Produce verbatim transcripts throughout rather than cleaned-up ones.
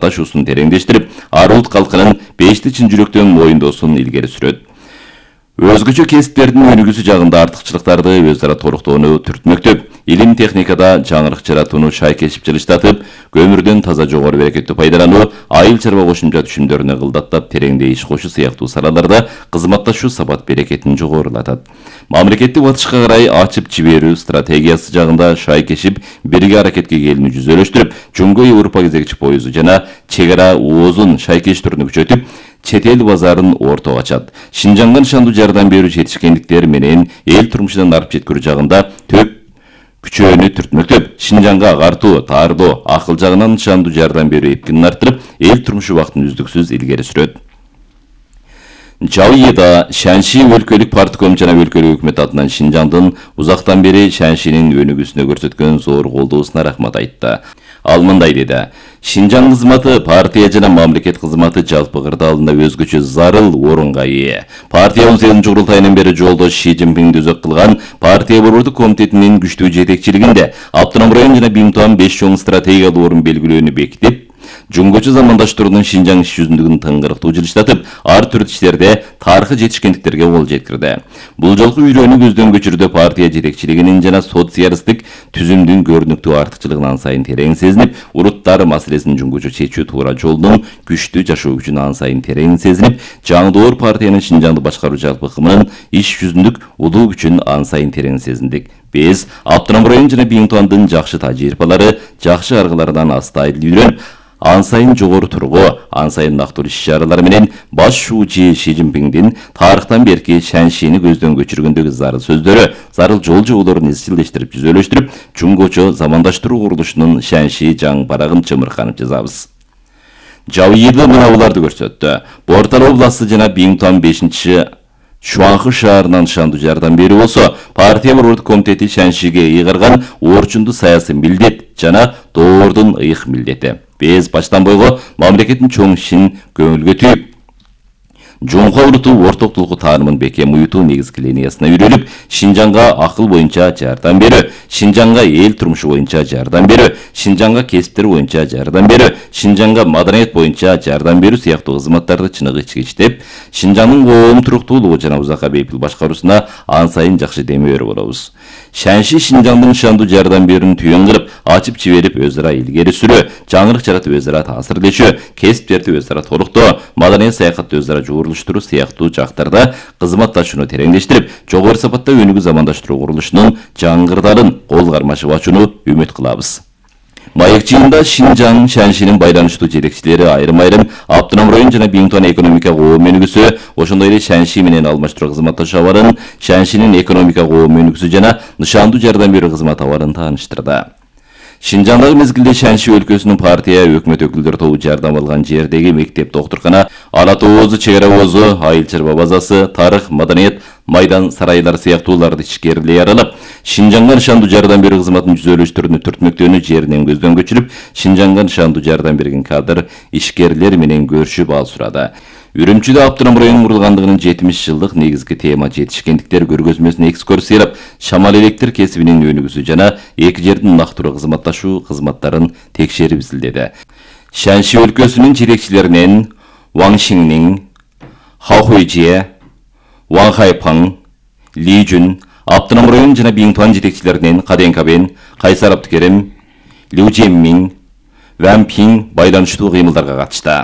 кызматташуусун тереңдештирип, ар улут калкынын бешти чын жүрөктөн моюндоосун илгери сүрөт. Өзгөчө кесиптердин өнүгүүсү жагында артыкчылыктарды өз ара толуктоону түртмөктөп, илим техникада жаңырык жаратууну шайкешип жылыштатып, көмүрдөн таза жогору берекеттүү пайдалануу, айыл чарба кошумча түшүмдөрүнө кылдаттап тереңдей иш кошуу сыяктуу салаларда кызматташуу сапат берекетин жогорулатат. Мамлекетти батышка карай ачып жиберүү стратегиясы жагында шайкешип бирге аракетке келүүнү жүзөлөштүрүп, Жумго Европа кезекчи поезду жана чек ара оозун шайкештүүрүнү күчөтүп, чет эл базарын ортого ачат. Шинжанга нышандуу жардам берүү жетишкендиктер менен эл турмушунан арып жеткирүү жагында төп күчөөнү түртмөктөп, Шинжанга агартуу, таардоо, акыл жагынан нышандуу жардам берүү эркинин арттырып, эл турмушу убактын үздүксүз илгери сүрөт. Жауида Шанши өлкөлүк партком жана өлкөлүк өкмөт атынан Шинжаңдын узактан бери Шаншинин өнүгүүсүнө көрсөткөн зор колдоосуна рахмат айтты. Ал мындай деди: Шинжаң кызматы партия жана мамлекет кызматы жалпы кырдаалында өзгөчө зарыл орунга ээ. Партия он сегизинчи курултайынан бери жолдош Ши Цзиньпинди өзөк кылган партия борбордук комитетинин күчтүү жетекчилигинде автоном район жана Бимтуан беш чоң стратегиялык орун белгилөөнү бекитип, Жумгочу замандаштырууну Шинжаң иш жүзүндүгүн тыңгырыктуу жылыштатып, ар түрдүү иштерде тарыхый жетишкендиктерге кол жеткирди. Бул жолку үйрөнүү көздөн көчүрүүдө партия жетекчилигинин жана социалисттик түзүмдүн көрүнүктүү артыкчылыгын ан сайын терең сезинип, уруттар маселесин жумгочу чечүү туура жолдун күчтүү жашоо күчүн ан сайын терең сезинип, жаңдоор партиянын Шинжаңды башкаруу жалпы кымынын иш жүзүндүк улуу күчүн ан сайын терең сезиндик. Биз автоном район жана Бимтуандын жакшы тажрыйбалары, жакшы аргаларынан астайыл үйрөнүп, ан сайын жогору тургу, ан сайын нактуу иш-чаралар менен баш шуучу Ши Цзиньпиндин тарыхтан берки Шаншини көздөн көчүргөндөгү зарыл сөздөрү, зарыл жол жоболорун изчилдештирип, жүзөлөштүрүп, Жумгочу замандаштыруу курулушунун Шанши жаң барагын чымырканып жазабыз. Жауида мына буларды көрсөттү. Бортал областы жана Бимтуан бешинчи Шуанхы шаарынан нышандуу жардам берүү болсо, партия борбордук комитети Шаншиге ыйгарган орчундуу саясий милдет жана доордун ыйык милдети. Биз баштан бойго мамлекеттин чоң ишин көңүлгө түйүп, Жумга уруту ортоктулуку таанымын бекем уютуу негизги линиясына үйрөнүп, Шинжаңга акыл боюнча жардам берүү, Шинжаңга эл турмушу боюнча жардам берүү, Шинжаңга кесиптер боюнча жардам берүү, Шинжаңга маданият боюнча жардам берүү сыяктуу кызматтарды чыныгы ичкичтеп, Шинжаңдын коом туруктуулугу жана узакка бейпил башкаруусуна ан сайын жакшы демөөр болобуз. Шанши Шинжаңдын нышандуу жардам берүүнү түйүн кылып, ачып жиберип өз ара илгери сүрүү, жаңырык жаратып өз ара таасирлешүү, кесиптерди өз ара толуктоо, маданий саякатты өз ара жуурулуштуруу сыяктуу жактарда кызматташууну тереңдештирип, жогору сапатта өнүгүү замандаштыруу курулушунун жаңгырдарын кол кармашып ачууну үмүт кылабыз. Маек жыйында Шинжаң Шаншинин байланыштуу жетекчилери айрым-айрым автоном район жана Бимтуан экономика коом өнүгүүсү, ошондой эле Шанши менен алмаштыруу кызматташуу абарын, Шаншинин экономика коом өнүгүүсү жана нышандуу жардам берүү кызмат абарын тааныштырды. Шинжаңдагы мезгилде Шанши өлкөсүнүн партия өкмөт өкүлдөр тобу жардам алган жердеги мектеп, доктуркана, ала тоозу, чек ара оозу, айыл чарба базасы, тарых, маданият, майдан, сарайлар сыяктууларды ичкерилей аралап, Шинжаңга нышандуу жардам берүү кызматын жүзөлөштүрүүнү түртмөктөөнү жеринен көздөн көчүрүп, Шинжаңга нышандуу жардам берген кадр ишкерлер менен көрүшүп ал сурады. Үрүмчүдө автоном районун курулгандыгынын жетимиш жылдык негизги тема жетишкендиктер көргөзмөсүнө экскурсия ыйлап, шамал электр кесибинин өнүгүүсү жана эки жердин нактуу кызматташуу кызматтарын текшерип изилдеди. Шанши өлкөсүнүн жетекчилеринен Ван Шиннин, Ха Хуйжие, Ван Хайпаң, Ли Жун, автоном район жана Бимтуан жетекчилеринен Каден Кабен, Кайсар Абдыкерим, Лю Жеммин, Ван Пин байланыштуу кыймылдарга катышты.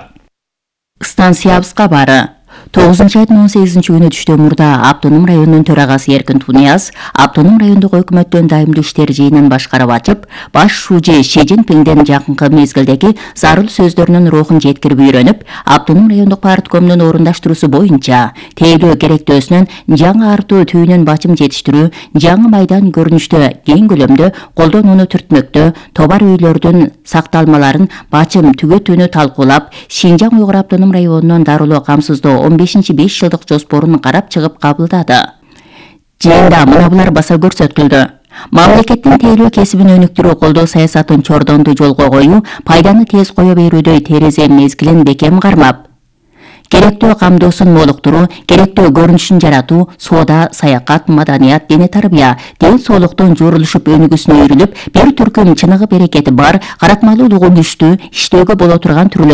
Станциябыз кабары. тогузунчу айдын он сегизинчи күнү түштөн мурда автоном районунун төрагасы Эркин Тунияз автоном райондук өкмөттөн дайымдуу иштер жыйынын башкарып ачып, баш шуучу Ши Цзиньпиндин жакынкы мезгилдеги зарыл сөздөрүнүн рухун жеткирип үйрөнүп, автоном райондук парткомдун орундаштыруусу боюнча тейлөө керектөөсүнөн жаңы артуу түйүнөн бачым жетиштирүү, жаңы майдан көрүнүштө кең көлөмдө колдонууну түртмөктө, товар үйлөрдүн сакталмаларын бачым түгөтүүнү талкуулап, Шинжаң Уйгур автоном районунун дарылоо камсыздоо он бешинчи беш жылдык жоспорун карап чыгып кабылдады. Жыйында мына булар баса көрсөтүлдү. Мамлекеттин тейлөө кесибин өнүктүрүү колдоо саясатын чордонду жолго коюу, пайданы тез кое берүүдө терезе мезгилин бекем кармап, керектөө камдоосун молуктуруу, керектөө көрүнүшүн жаратуу, соода, саякат, маданият, дене тарбия, ден соолуктун жуурулушуп өнүгүүсүнө үйрүнүп, бир түркүм чыныгы берекети бар, каратмалуулугу күчтүү, иштөөгө боло турган түрлөр